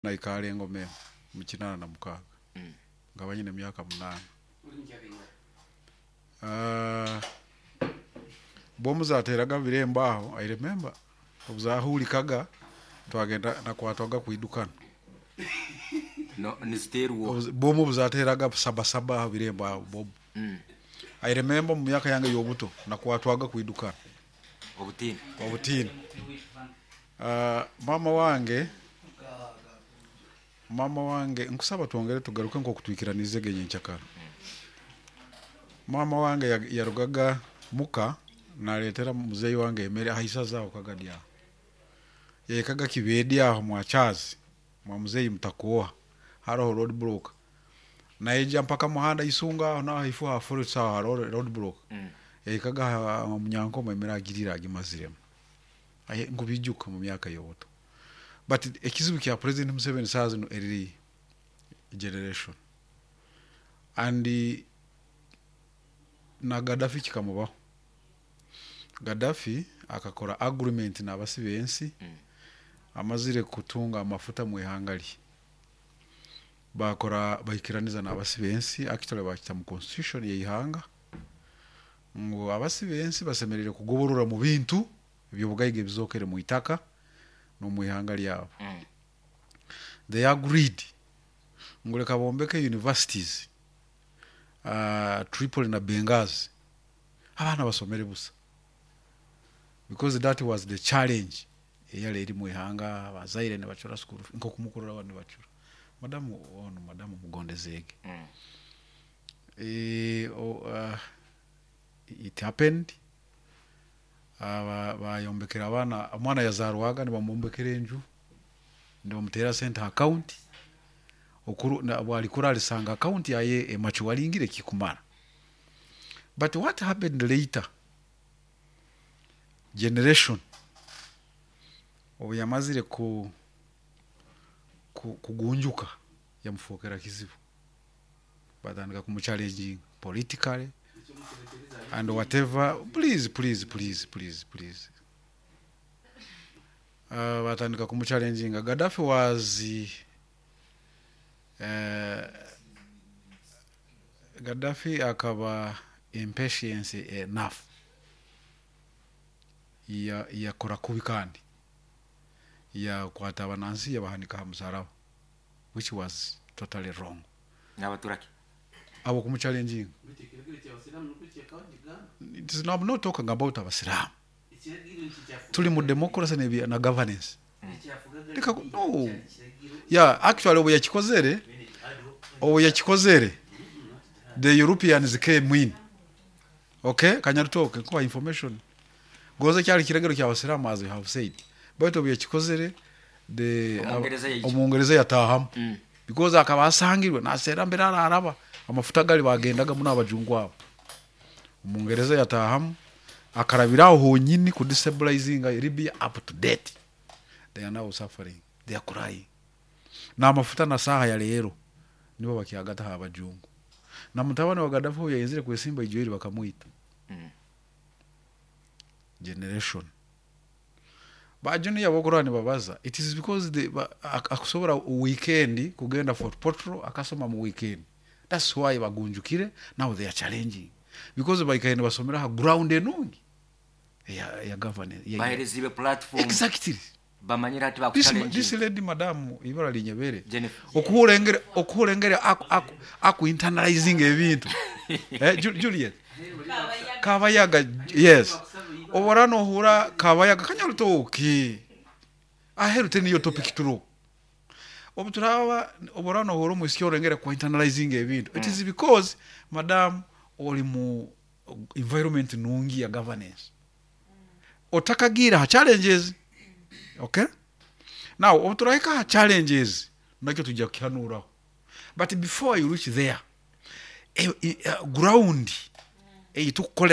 Naikaara engoma emwe omu 86, nkaba nyine emyaka munaana. Bomu zateeraga aha birembo aho, I remember obu zahurikaga twagenda nakwatwaga kwidukana. Niziteerwa oha? Bomu obu zateeraga saba saba aha birembo aho bomu. I remember omu myaka yange y'obuto nakwatwaga kwidukana. Obutiini. Obutiini. Maama wange, maama wange nkusaba twongere tugaruke nk'oku twikiraniizege nyenkyakara. Maama wange yarugaga muka nareetera muzeeyi wange emere aha isaza aho Kagadi aho. Yahikaga Kibedi aho mwa Charles mwa muzeeyi Mutakooha haroho road block. Naija mpaka muhanda Isunga aho naho haifo ha forest aho haroho road block. Yahikaga aha Munyankoma emere agiriire agimaziremu. Aye nkubijuka omu myaka y'obuto. But ekizibu kya president Museveni saaha zinu eri generation and na Gaddafi kikamubaho. Gaddafi akakora agreement n'abasi b'ensi amazire kutunga amafuta omu ihanga rye. Baakora baikiraniza n'abasi b'ensi actually baakita mu constitution y'eihanga ngu abasi b'ensi basemereire kugoborora omu bintu eby'obugaiga ebizookere mu itaka n'omu ihanga ryabo. They agreed ngu reka bombeke universities Tripoli na Benghazi abaana basomere busa because that was the challenge eyari eri omu ihanga abazaire nibacura school fees nk'oku mukurora nibacura. Madamu onu madamu Mugondezeege it happened bayombekera abaana, omwana yazaarwaga nibamwombekera enju, nibamuteera sente aha akawunti, obu arikura arisanga akawunti yaaye emacuwaringire ekikumara. But what happened later, generation obu yamazire kugunjuka yamufookera kizibu. Batandika kumuchallenginga politically and whatever, please please please please please. Batandika kumuchallenginga. Gaddafi was Gaddafi akaba impatience enough yakora kubi kandi yakwata abanansi yabahanika aha musaraba which was totally wrong. Nabatura ki? Abo kumuchallenginga. It is I'm not talking about abasiraamu. Turi mu democracy na governance. Reka no. Yeah, actually obu yakikozere, obu yakikozere, the Europeans came in. Okay, Kanyarutooke nkuha information. Gonze kyari kiragiro ky'abasiraamu as you have said. Baitu obu yakikozere, the Omungereza yaija. Omungereza yataahamu. Because akaba asangirwe naseera mbere araraba amafuta gari bagendaga muno abajungu abo. Omungereza yataahamu akarabira aho honyini ku destabilizinga Libya up to date. They are now suffering. They are crying. N'amafuta na saaha ya leero nibo bakyagata aha bajungu. Na mutabani wa Gaddafi obu yayenzire kwesimba ijweri bakamwita. Generation. Ba junior abokurora nibabaza it is because they ba, akusobora weekend kugenda Fort Portal akasoma mu weekend. That's why bagunjukire now they are challenging because baikaire nibasomera aha ground enungi eya, eya governance. Bahereziibwe platform. Exactly. Bamanyire hati This, this bakuchallenginga. lady madam ibara linyebere Jennifer. okuhura engeri okuhura engeri aku, aku, aku internalizinga ebintu eh, Juliet Kabayaga yes obora nohura Kabayaga kanyarutoki aheru teniyo topic turo obu turaba obora nohura omwisiki orengere ku internalizinga ebintu it is because madam ori mu environment nungi ya governance otakagiire aha challenges okay now obu turahika aha challenges nakyo twija kukihanuuraho but before you reach there ground ei tukukoreramu.